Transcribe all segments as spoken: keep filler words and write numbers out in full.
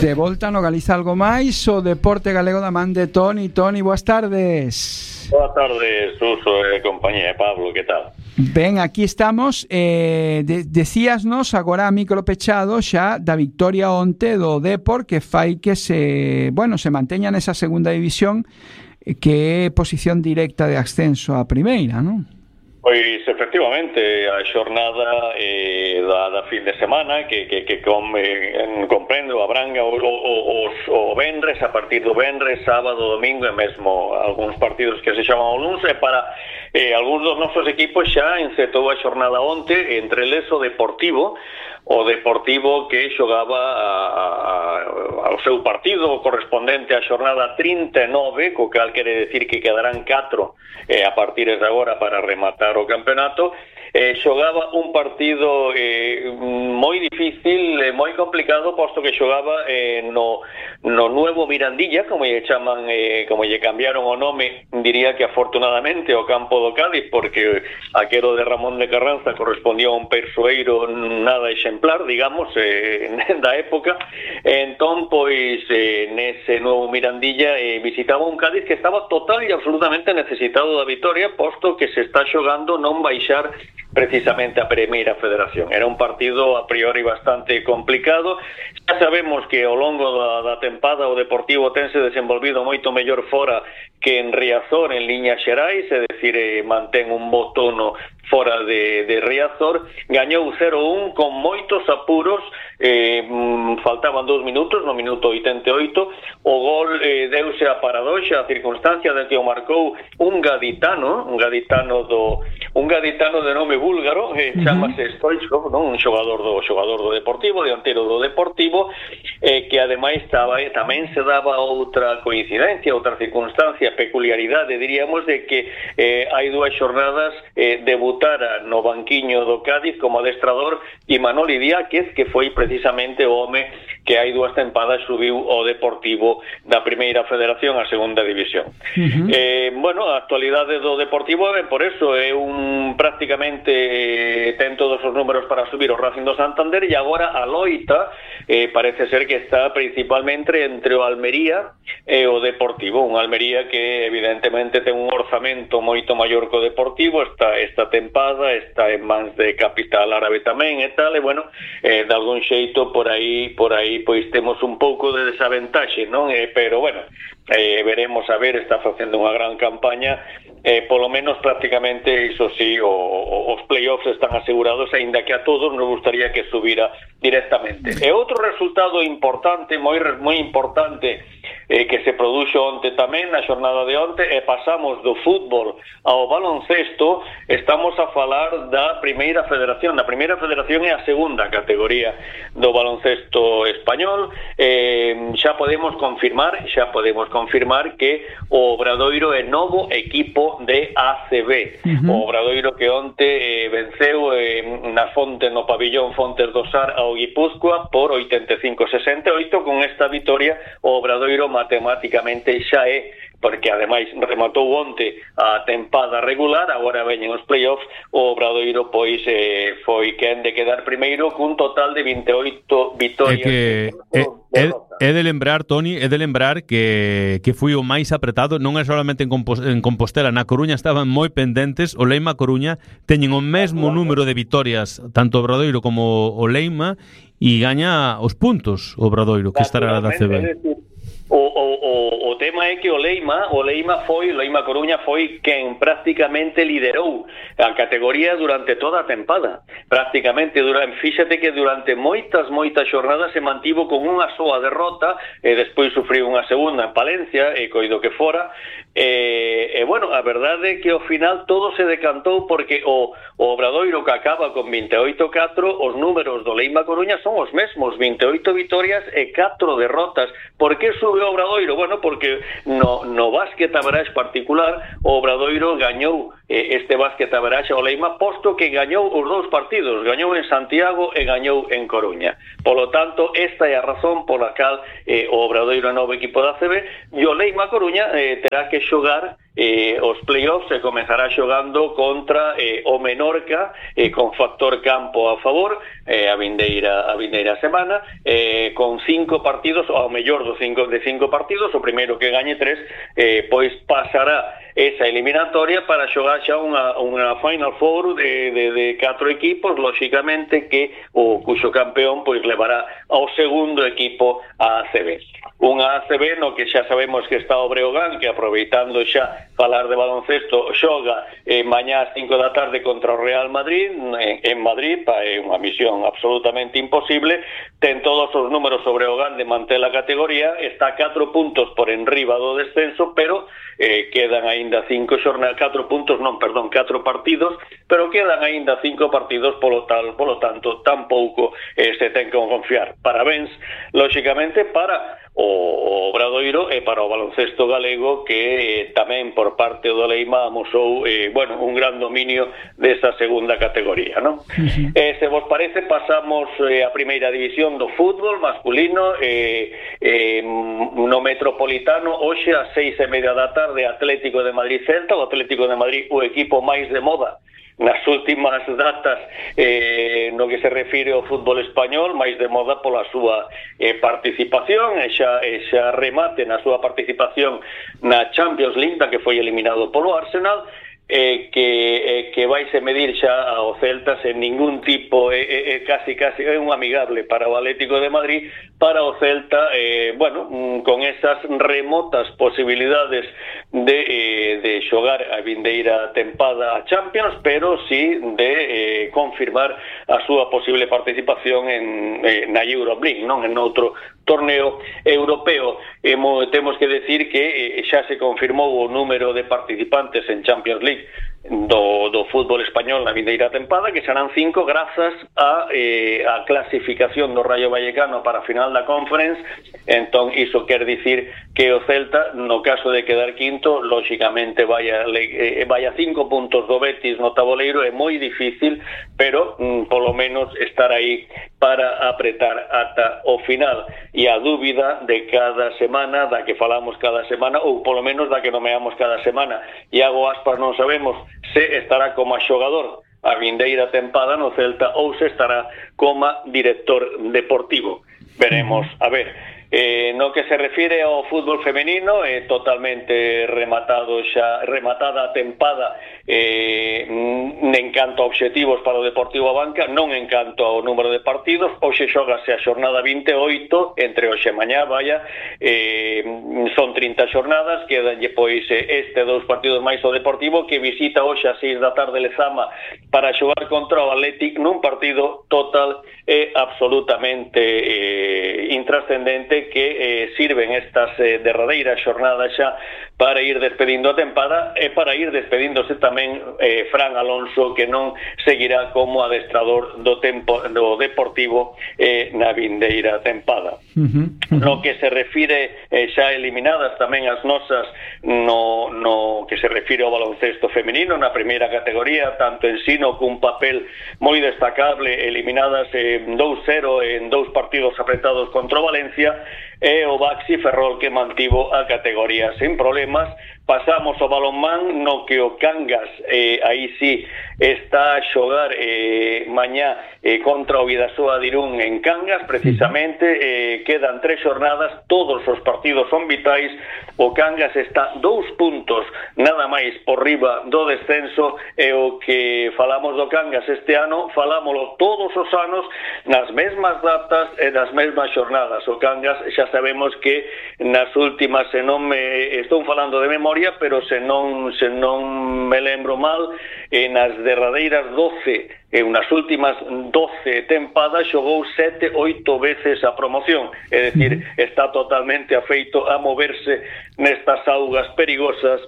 De volta no Galiza Algo Máis, o deporte galego da man de Toni. Toni, boas tardes. Boas tardes, Suso e compañía. Pablo, que tal? Ben, aquí estamos. eh, de, Decíasnos agora a micro pechado xa da victoria onte do Depor, que fai que se, bueno, se manteña nesa segunda división, que é posición directa de ascenso á primeira, non? Pois, efectivamente, a xornada eh, da, da fin de semana que, que, que com, eh, comprendo, abranga o, o, o, o venres, a partir do venres, sábado, domingo e mesmo algúns partidos que se chaman o luns, e para eh, algúns dos nosos equipos xa encetou a xornada onte, entre eles o Deportivo, o Deportivo que xogaba a, a, ao seu partido correspondente á xornada trinta e nove, co cal quere decir que quedarán catro eh, a partir de agora para rematar o campeonato. Eh, xogaba un partido eh, moi difícil, eh, moi complicado, posto que xogaba eh, no, no nuevo Mirandilla, como lle chaman, eh, como lle cambiaron o nome, diría que afortunadamente o campo do Cádiz, porque aquero de Ramón de Carranza correspondía a un persoeiro nada exemplar, digamos, eh, da época. Entón, pois, eh, nese nuevo Mirandilla eh, visitaba un Cádiz que estaba total e absolutamente necesitado da vitoria, posto que se está xogando non baixar precisamente a Primeira Federación. Era un partido a priori bastante complicado. Xa sabemos que ao longo da, da tempada o Deportivo tense desenvolvido moito mellor fora que en Riazor en liñas xerais, é dicir, eh, mantén un bo tono fora de, de Riazor. Gañou cero un con moitos apuros, eh, faltaban dous minutos, no minuto oitenta e oito, o gol eh, deuse a paradoxa, a circunstancia de que o marcou un gaditano, un gaditano do un gaditano de nome búlgaro, eh, chamase Stoichkov, non? Un xogador do xogador do Deportivo, dianteiro do Deportivo, eh, que ademais estaba, eh, tamén se daba outra coincidencia, outra circunstancia, peculiaridade, diríamos, de que eh, hai dúas xornadas eh, debutara no banquiño do Cádiz como adestrador Imanol Idiáquez, que foi precisamente o home que hai dúas tempadas subiu o Deportivo da Primeira Federación á Segunda División. Uh-huh. Eh, bueno, a actualidade do Deportivo é por eso, é un prácticamente eh, ten todos os números para subir o Racing do Santander, e agora a loita eh, parece ser que está principalmente entre o Almería e o Deportivo, un Almería que evidentemente ten un orzamento moito maior que o Deportivo, está esta tempada, está en mans de capital árabe tamén e tal, e bueno, eh, de algún xeito por aí, por aí pois temos un pouco de desaventaxe, non? Eh, pero bueno, eh, veremos a ver, está facendo unha gran campaña, eh, polo menos prácticamente, iso sí, o, o, os playoffs están asegurados, aínda que a todos nos gustaría que subira directamente. E outro resultado importante, moi moi importante, eh, que se produxo onte tamén, na xornada de onte, e pasamos do fútbol ao baloncesto, estamos a falar da Primeira Federación. A Primeira Federación é a segunda categoría do baloncesto español. Eh, xa podemos confirmar, xa podemos confirmar que o Obradoiro é novo equipo de A C B. Uh-huh. O Obradoiro que onte eh, venceu eh, na fonte, no pabillón Fontes do Sar ao Guipúzcoa por oitenta e cinco a sesenta e oito. Con esta vitoria o Obradoiro matemáticamente xa é, porque ademais rematou onte a tempada regular, agora veñen os playoffs, o Obradoiro pois eh, foi quen de quedar primeiro cun total de vinte e oito vitorias. É que é, é, é de lembrar, Toni, é de lembrar que, que foi o máis apretado, non é solamente en, Compos, en Compostela, na Coruña estaban moi pendentes, o Leima Coruña teñen o mesmo número de vitorias, tanto o Obradoiro como o Leima, e gaña os puntos o Obradoiro, que estará da C B. O, o, o, o tema é que o Leima, o Leima foi, o Leima Coruña foi quen prácticamente liderou a categoría durante toda a tempada. Prácticamente, durante, fíxate que durante moitas, moitas xornadas se mantivo con unha soa derrota, e despois sufriu unha segunda en Palencia, e coido que fora, e, e bueno, a verdade é que ao final todo se decantou porque o, o Obradoiro, que acaba con vinte e oito a catro, os números do Leima Coruña son os mesmos, vinte e oito vitorias e catro derrotas. Por que sube o Obradoiro? Bueno, porque no, no básquet average particular o Obradoiro gañou eh, este básquet average ao Leima, posto que gañou os dous partidos, gañou en Santiago e gañou en Coruña. Polo tanto, esta é a razón pola cal eh, o Obradoiro é novo equipo da C B, e o Leima Coruña eh, terá que xogar eh, os playoffs e comezará xogando contra eh, o Menorca, eh, con factor campo a favor, eh, a vindeira a vindeira semana, eh, con cinco partidos, ao mellor dos cinco de cinco partidos, o primeiro que gañe tres, eh, pois pasará esa eliminatoria para xogar xa unha, unha Final Four de, de, de catro equipos, lóxicamente que o cuxo campeón pois levará ao segundo equipo a A C B. Unha A C B no que xa sabemos que está o Breogán, que aproveitando xa falar de baloncesto, xoga eh, mañá ás cinco da tarde contra o Real Madrid en, en Madrid, pa, é unha misión absolutamente imposible, ten todos os números sobre o Breogán de manter a categoría, está a catro puntos por enriba do descenso, pero eh, quedan aínda cinco xornadas, catro puntos, non, perdón, catro partidos, pero quedan aínda cinco partidos, polo tal, polo tanto, tampouco eh, se ten que confiar. Parabéns, lóxicamente, para o Obradoiro e para o baloncesto galego, que eh, tamén por parte do Leima amosou eh, bueno, un gran dominio desa segunda categoría, non? Uh-huh. Eh, se vos parece, pasamos eh, a primeira división do fútbol masculino, eh, eh, no Metropolitano, hoxe ás seis e media da tarde, Atlético de Madrid Celta, o Atlético de Madrid, o equipo máis de moda nas últimas datas eh, no que se refire ao fútbol español, máis de moda pola súa eh, participación, e xa, e xa remate na súa participación na Champions League, da que foi eliminado polo Arsenal, eh, que, eh, que vaise medir xa ao Celta sen ningún tipo, é eh, eh, casi casi é un amigable para o Atlético de Madrid, para o Celta, eh, bueno, con esas remotas posibilidades de, eh, de xogar a vindeira tempada a Champions, pero sí de eh, confirmar a súa posible participación en, eh, na Euroleague, non en outro torneo europeo. Eh, temos que decir que eh, xa se confirmou o número de participantes en Champions League do, do fútbol español na vindeira tempada, que serán cinco grazas a, eh, a clasificación do Rayo Vallecano para a final da Conference. Entón, iso quer dicir que o Celta, no caso de quedar quinto, lóxicamente vai a, eh, vai a cinco puntos do Betis no taboleiro, é moi difícil, pero mm, polo menos estar aí para apretar ata o final. E a dúbida de cada semana, da que falamos cada semana, ou polo menos da que nomeamos cada semana, Iago Aspas non sabemos se estará como xogador a vindeira tempada no Celta ou se estará como director deportivo. Veremos, a ver. Eh, no que se refire ao fútbol femenino, é eh, totalmente rematado xa, rematada a tempada, eh, en canto a obxectivos para o Deportivo Abanca, non en canto ao número de partidos. Hoxe xógase a xornada vinte e oito, entre hoxe e mañá, vaya, eh, son trinta xornadas, quedanlle pois este dous partidos máis o Deportivo, que visita hoxe a seis da tarde Lezama para xogar contra o Athletic nun partido total e absolutamente eh, intrascendente, que eh, sirven estas eh, derradeiras xornadas xa para ir despedindo a tempada e para ir despedíndose tamén eh, Fran Alonso, que non seguirá como adestrador do tempo do Deportivo eh, na vindeira tempada. Uh-huh, uh-huh. No que se refire eh, xa eliminadas tamén as nosas no, no que se refire ao baloncesto femenino na primeira categoría, tanto en Sino cun papel moi destacable, eliminadas en dous cero en dous partidos apretados contra o Valencia, e o Baxi Ferrol, que mantivo a categoría sen problemas. Pasamos ao balonmán, no que o Cangas eh, aí sí está a xogar eh, mañá eh, contra o Bidasoa de Irún en Cangas, precisamente. Eh, quedan tres xornadas, todos os partidos son vitais. O Cangas está dous puntos nada máis por riba do descenso, e o que falamos do Cangas este ano, falámoslo todos os anos nas mesmas datas e nas mesmas xornadas. O Cangas xa sabemos que nas últimas, se non me estou falando de memoria, pero se non se non me lembro mal, eh, nas derradeiras doce e nas últimas doce tempadas xogou sete, oito veces a promoción, é dicir, está totalmente afeito a moverse nestas augas perigosas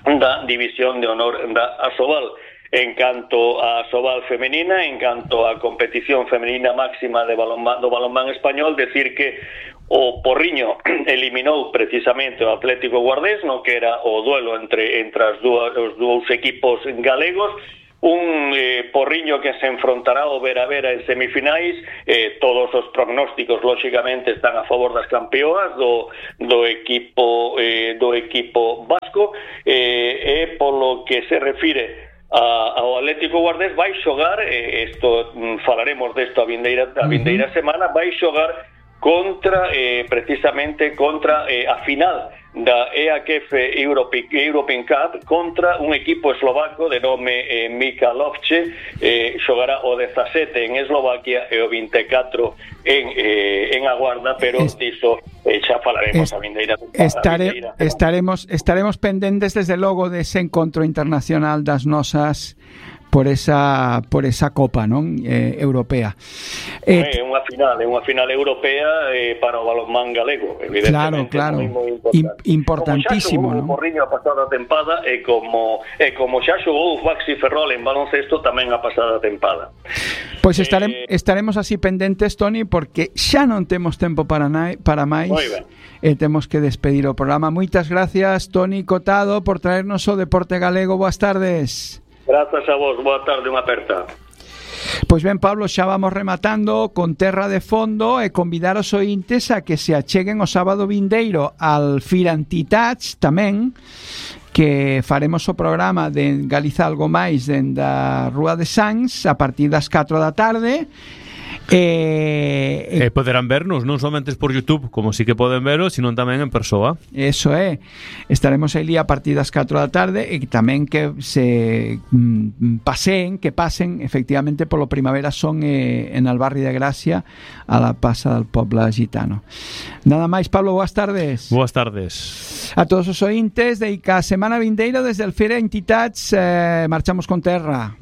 da División de Honor da Asobal. En canto a Asobal femenina, en canto a competición femenina máxima de balonmán, do balonmán español, decir que o Porriño eliminou precisamente o Atlético Guardés, no que era o duelo entre entre as dúas, os dous equipos galegos. un eh, Porriño que se enfrontará ao Vera Vera en semifinais. Eh, todos os prognósticos lógicamente están a favor das campeoas do, do equipo eh, do equipo vasco, eh, e polo que se refire a, ao Atlético Guardés vai xogar, eh, esto falaremos desto a vindeira, a vindeira semana, vai xogar contra eh, precisamente contra eh, a final da E A K F European Cup contra un equipo eslovaco de nome eh, Michalovce. eh, xogará o dezasete en Eslovaquia e o vinte e catro en, eh, en Aguarda, pero es, diso eh, xa falaremos es, a vindeira, estare, a vindeira estaremos, estaremos pendentes desde logo dese encontro internacional das nosas por esa por esa copa, non? Eh, europea. É eh, unha final, é unha final europea eh, para o balonmán galego, evidentemente. Claro, claro. Moi, moi importantísimo, non? Como xa xogou o Porriño a pasada tempada e como e como xa xogou o Baxi Ferrol en baloncesto tamén a pasada tempada. Pois estare, eh, estaremos así pendentes, Toni, porque xa non temos tempo para nai, para máis. Moi ben. E temos que despedir o programa. Moitas gracias, Toni Cotado, por traernos o deporte galego. Boas tardes. Grazas a vos, boa tarde, unha aperta. Pois ben, Pablo, xa vamos rematando con Terra de Fondo e convidar os ointes a que se acheguen o sábado vindeiro al Firantitats tamén, que faremos o programa de Galiza Algo Máis dende a Rúa de Sans a partir das catro da tarde. E, e poderán vernos non somente por YouTube, como sí que poden verlos, sino tamén en persoa. Eso é, estaremos aí a partir das catro da tarde e tamén que se mm, paseen, que pasen efectivamente polo Primavera Son eh, en Albarri de Gracia a la Pasa del Poble Gitano. Nada máis, Pablo, boas tardes. Boas tardes. A todos os ointes de I C A semana vindeiro desde el Fira Entitats, eh, marchamos con Terra.